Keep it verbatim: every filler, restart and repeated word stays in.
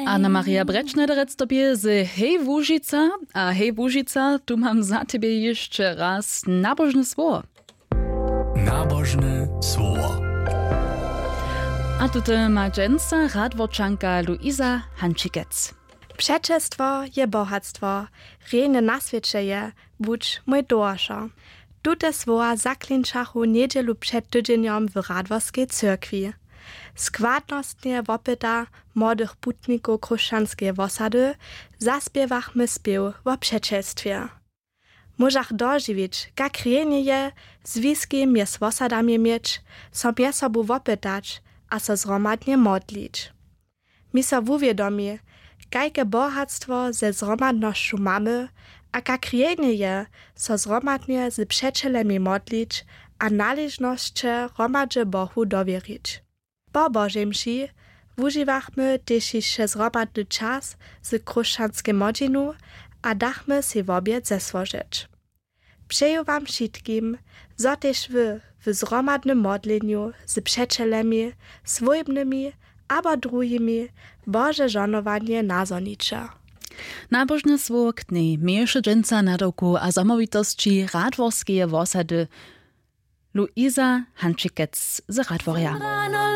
Anna Maria Bretschneiderec to bě z Hej Łužica. A hej Łužica, tu mam za tebje hišće raz nabožne słowo. Nabožne słowo. A tute ma dźensa radworčanka Luisa Hančikec. Přećelstwo je bohatstwo, rjenje na swěće je, budź mój towaršo. Tute słowa zaklinčachu njedźelu před tydźenjom w Radworskej cyrkwi. Składnostnje wopyta młodych putnikow chróšćanskeje wosady zaspěwachmy spěw wo přećelstwje. Móžach dožiwić, kak rjenje je, zwiski mjez wosadami měć, so mjez sobu wopytać a so zhromadnje modlić. Mi so wuwědomi, kajke bohatstwo ze zhromadnosću mamy a kak rjenje je, so zhromadnje z přećelemi modlić a naležnosće hromadźe Bohu dowěrić. Po Božej mši wužiwachmy tež hišće zhromadny čas z chróšćanskej młodźinu a dachmy sej wobjed zesłožeć. Přeju wam wšitkim, zo tež wy w zhromadnym modlenju z přećelemi, swójbnymi abo druhimi Bože žohnowanje nazhoniće. Nabožne słowo k dnjej měješe dźensa nadawku a zamołwitosći radworskeje wosady Luisa Hančikec z Radworja.